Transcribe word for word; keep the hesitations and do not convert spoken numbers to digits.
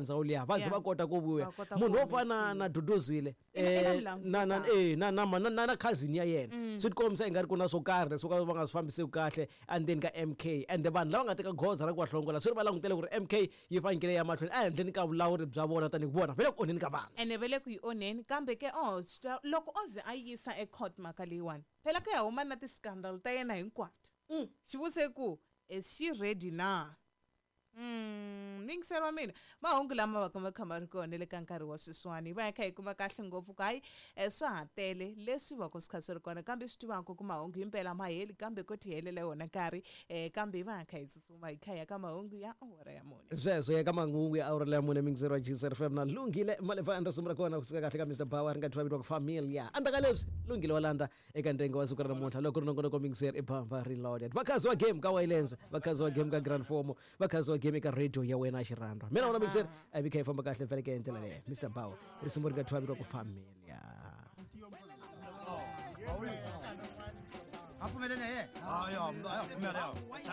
Ndzhawu liya va ze Yeah. va kota ku vuya. Va kota ku Munhu wo fana humesiwa. Na Duduzile I na- i na eh, milandzu na na yo tala. eh, na na na na na cousin ya yena, swi tikombisa ingari ku na swo karhi leswi ka va nga swi fambiseki kahle endzeni ka M K, ende vanhu lava nga teka goza ra ku va hlongola swi ri va langutele ku ri M K yi fanekele ya mahlweni ehenhleni ka vulawuri bya vona, tanihi vona va le ku onheni ka vanhu. Ene va le ku yi onheni, kambe ke oh swi- loko o ze a yisa ecourt mhaka leyiwani, phela ku ya huma na ti-scandal ta yena hinkwato. Xivuse ku is she ready na? Mm, yingiseri wa mina, mahungu lama va ka ma kha ma ri kona le ka nkarhi wa sweswiwani, hi va hi kha hi kuma kahle ngopfu ku hayi, eh, swa ha tele leswi va ku swi kha swi ri kona, kambe swi tivaka ku mahungu himpela ma heli, kambe ko ti helela wona nkarhi, um kambe hi va hi kha hi tsutsuma hi kha hi ya ka mahungu ya awara ya mune. Sweswo ya ka mahungu ya awara ya mune, mingiseri wa G C F M na Lunghile Malevanda. Risimu ra kona kusuka kahle ka Mister Power ri nga thyiwa vitiwaka Familia. Endzhaku ka leswi, Lunghile wa landza eka ntengo wa siku ra namuntlha loko ri nongonoko, mingiseri, i Bamba Reloaded. Vakhazi wa game ka Waylands, vakhazi wa game ka Grand Fomo, vakhazi wa game eka radio ya wena xirhandwa. Mina wona, mingiseri, a vi kha yi famba kahle vhele ke hi ndlela leyo. Mister Power, risimu ri nga thyiwa vitiwaka Familia. A pfumeleni ye. Hayi, ya, ya pfumela ya. Chaya.